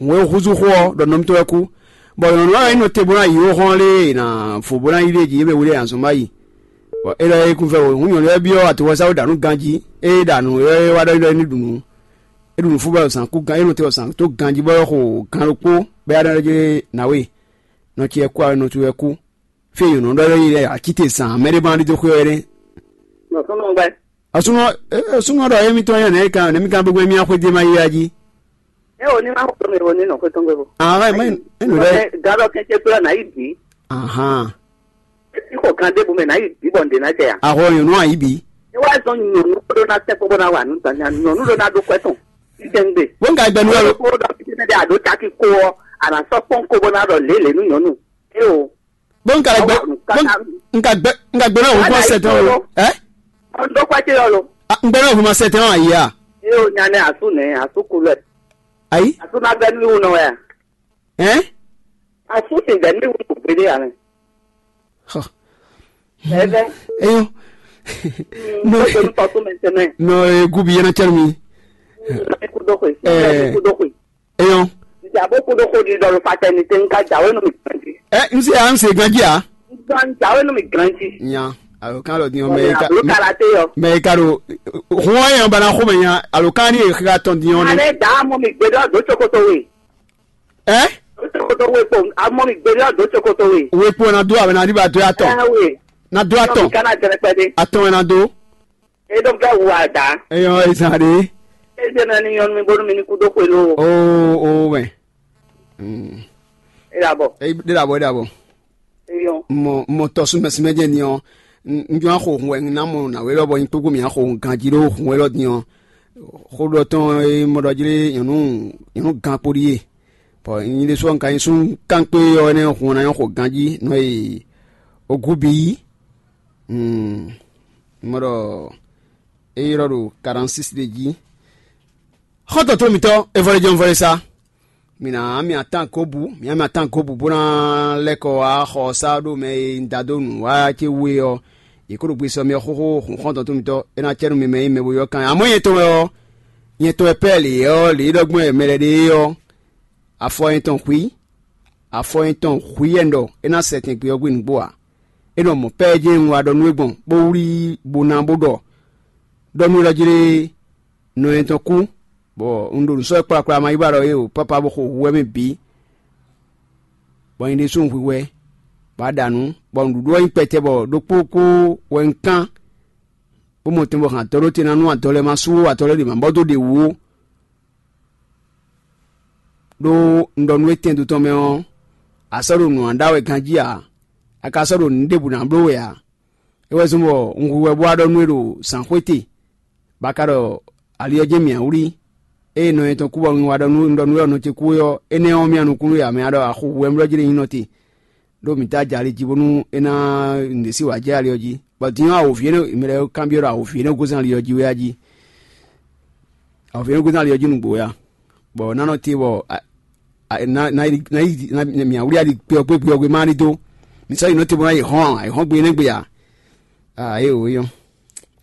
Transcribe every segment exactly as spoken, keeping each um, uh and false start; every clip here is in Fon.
hǔn e húzú xó ɔ́ ɖɔ nɔ mitɔn wɛ kú. Bɔ nyɔ̌nu ɔ́ wɛ nyí nɔ te bó ná yi yǒ hɔn lé e è nǎ vo bó ná yí ɖ'é jí é mɛ wlé azɔn má yi. Bɔ é lɔ e kún vɛ wǒ hǔn nyɔ̌nu ɔ́ byɔ́ atoxɔsá wú ɖo nǔ ganjí. Ée ɖa nǔ é wá ɖɔ é ɖɔ é ní ɖu nǔ. É ɖu nǔ fú bɔ zǎn kú gan é nɔ te bɔ zǎn tó ganjí bɔ é xo gan ɖokpó bɔ é wá ɖɔ é ná wé. Nɔ ce wɛ kú ǎ, nɔ towe wɛ kú. Fí e nyɔ̌nu ɖɔ é yi lɛ́ɛ ǎ, cíte zǎn mɛ ɖé ma ɖidó xwé wɛ nɛ́. Nɔ súnnu gbɛ. Asúnɔ, asúnɔ ɖɔ émítɔn nyɔ́ nɛ̌ kan nɛ̌ mi kan gbégbé mì axwé dé ma yi wá jí. É o ní ma xɔ mi o ní nɔ xwé tɔn gbé bo. Ahán, é mɛ é nù lɛ. Gǎdɔ kɛntɛ kplɔ́ nǎ yi bǐ. Ahán. É ti xɔ kan ɖěbǔ mɛ nǎ yi bǐ bɔ ǹdě ná jɛ ya. Ahɔ nyɔ̌nu ayǐ bǐ. É wá zɔn nyɔ̌nu kó ɖó ná tɛ́ kó bó ná wa nǔ tɔn nya nyɔ̌nu ɖó ná ɖó kwɛ́ tɔn. Títɛngbè. Bó ń ka gbɛ nú ɔlò. Kó ɖɔ fítɛ́ mɛ ɖé àɖó caki kó ɔ́, àná sɔ́ kpɔ́n kó bó ná ɖɔ lě lě nú nyɔ̌nu. É o. Bó ń ka gbɛ. Bó ń ka gbɛ. Ń ka gbɛ náà òun kó sɛ tán o. Ɛ. Ɔn dó kwájú yɔ lo. Ń gbɛ náà òun ma sɛ tán ayé a. Yóò nya ní asú nɛ asú kulɛ. Ayi. Asú ma gbɛ nínú nɔ wɛ. Ɛ. Asú sì gbɛ nínú gbédé yà mɛ. Xɔ. Ɛfɛ. Eyɔn. N'o tɔ tó mɛ tɛmɛ. N'o egu bi yɛn na cɛlu mi. Kúdó xwe. Kúdó xwe. Eyɔn. Ìjà bó kúdó xwe di dɔlù fatɛnité ń ká jàwé nù mí. Ɛ n se a n se ganji a. Gan jàwé nù mí ganji. Nya alo kan lɔ diɲɔ mɛ yi ka. Alo kala te yɔ. Mɛ yi ka ɖo. Hun ɔyɛ bana xo mɛ nya alo kan ni yi xira tɔn diɲɔ ne. Ale da mɔ mi gbe dɔ do tsokoto we. Ɛ. Do tsokoto we kpo amɔ mi gbe dɔ do tsokoto we. We kpo na do a bɛ na di ba do atɔ. Ɛ we. Na do atɔ. Kana jɛnɛ kpɛ de. Atɔ wɛ na do. E ɖo vɛ wu ada. Eyɔn ezan ɖe. E ɖe na ni nyɔnu mi bónú mi ní kú dó xwe ló. Oo oo mɛ. Mm. E ɖa bɔ. E ɖe ɖa bɔ e ɖa bɔ. Eyɔn. Mɔ mɔ tɔ súnmɛ súnmɛ jɛ ni ɔ. N jɔ axo hun wɛ n ná mɔ nǎwe lɔ bɔ nyí kpókpó mì axo hun ganjí ɖó hun wɛ lɔ din ɔ. Xó ɖɔ tɔn e mɔ ɖɔ jlé nyɔ̌nu nyɔ̌nu gan kpo ɖíe. Bɔ nyi ɖésú ɔ́, un ka nyí súnnu kánkpé ɔ́ nɛ́ hun ɔ́ ná nyɔ́ xo ganjí nɔ e ogúbí. Mɔ ɖɔ é ylɔ́ ɖo quarante-six ɖé jí. Xɔ́ntɔn tó mǐtɔn é vɔ́ lɛ́ jɔ́n vɔ́ lɛ́ sá. Mǐ ná mì atán gǒbǔ, mǐ ná mì atán gǒbǔ bó ná lɛ́ kɔ wá xɔ sá ɖó mɛ e un da dó nǔ wá ce wú é ɔ́, yě kó ɖo gbesɔ mɛ xóxó hun xɔ́ntɔn tó mǐtɔn é ná cɛ nú mi mɛ nyí mɛ bo ylɔ́ kan. Amɔ̌ nyɛ tɔn wɛ ɔ́, nyɛ tɔn wɛ Pɛ́ɛli ɔ́, lě e ɖɔ gbɔn wɛ mɛ lɛ́ɛ ɖe é ɔ́, afɔ nyɛ tɔn hwǐ, afɔ nyɛ tɔn hwǐ wɛ un ɖɔ é ná sɛ tɛn gbe ɔ́ gbe nǔgbó ǎ. É nɔ mɔ̌ pɛ́ jɛ́n un wá ɖɔ nú we gbɔn, bó wlí bó ná bó ɖɔ ɖɔ nú we ɖɔ jlé nɔ nyɛ tɔn kú, bɔ un ɖo nǔ sɔ́ wɛ kplakpla ma yi ba ɖɔ é o, pápá bó xo hu wɛ mɛ bǐ, bɔ nyɛ ɖésú un hwihwɛ, bɔ a ɖa nǔ, bɔ nǔɖuɖu ɔ́ nyí kpɛtɛ bɔ ɖokpó kpó wɛ un kán, bó mɔ tɛn bɔ hɛn adɔ ɖó te ná nú adɔ lɛ́ɛ ma sú adɔ lɛ́ɛ ɖě ma bɔ dó ɖě wú ó. Ɖó un ɖɔ nú we tɛndo tɔn mɛ ɔ́, a sɔ́ ɖo nǔ ɔ́ ɖa wɛ ganjí ǎ; a ka sɔ́ ɖo nǔ ɖěbǔ ná bló we ǎ. É wɛ zɔ́n bɔ un hu wɛ bó wá ɖɔ nú we ɖo zǎnxwé te, bɔ a ka ɖɔ ali ɔ́ jɛ́n mǐ wlí. Ée nɔ nyɛ tɔn kú bɔ un wá ɖɔ nú un ɖɔ nú we ɔ́ nɔ ce kú é ɔ́, énɛ́ ɔ́, mì nukúnnú e a mɛ a ɖɔ a xo hu wɛ un ɖɔ jlé nyí nɔ te, ɖó mǐ dó aja ali jí bónú é ná nǔɖé sí wǎ jɛ ali ɔ́ jí. Bɔ din ɔ́, awǒvi énɛ́ mɛ lɛ́ɛ kanbyɔ́ ɖɔ awǒvi énɛ́ gosín ali ɔ́ jí wɛ a jí. Awǒvi énɛ́ gosín ali ɔ́ jí nǔgbó wɛ a? Bɔ ná nɔ te bɔ mǐ awlí ali gbé ɔ́ gbé gbé ɔ́ gbé má ní dó. Mǐ sɔ́ yi nɔ te bɔ ná yi hɔn ayǐhɔ́ngbe énɛ́ gbe ǎ. Aa é wǒ nyɔ́.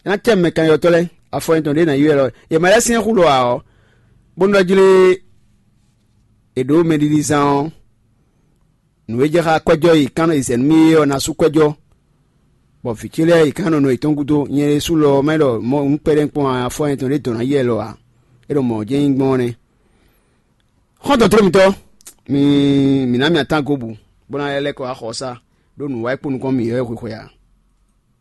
É ná cɛ mɛ kanylɔ́tɔ́ lɛ́ɛ, afɔ nyɛtɔn ɖě ná yi wɛ lɔ. Yě mɛ lɛ́ɛ syɛ́n xú lɔ ǎ ɔ́, bónú ɔ́ jlé è ɖǒ mɛɖiɖizán ɔ́, nǔ e jɛ xá kwɛ́jɔ́ e yě kán nɔ yi zɛ nú mì é ɔ́ ná sú kwɛ́jɔ́. Bɔ vǐ ce lɛ́ɛ yě kán nɔ nɔ yětɔn gúdo. Nyɛ ɖésú lɔ ɔ́, má ɖɔ mɔ̌ un kpɛɖɛ́ kpɔ́n afɔ nyɛtɔn ɖě dɔn ná yi wɛ lɔ ǎ. É ɖɔ mɔ̌ jɛ́n nyí gbɔn ɔ́ nɛ́. Xɔ́ntɔn tló mitɔ́, mi mǐ ná mì atán gobu, bó ná lɛ́ kɔ wá xɔ sá, ɖó nǔ wá yi kpó nukɔn mì ɔ́ xwixwe ǎ.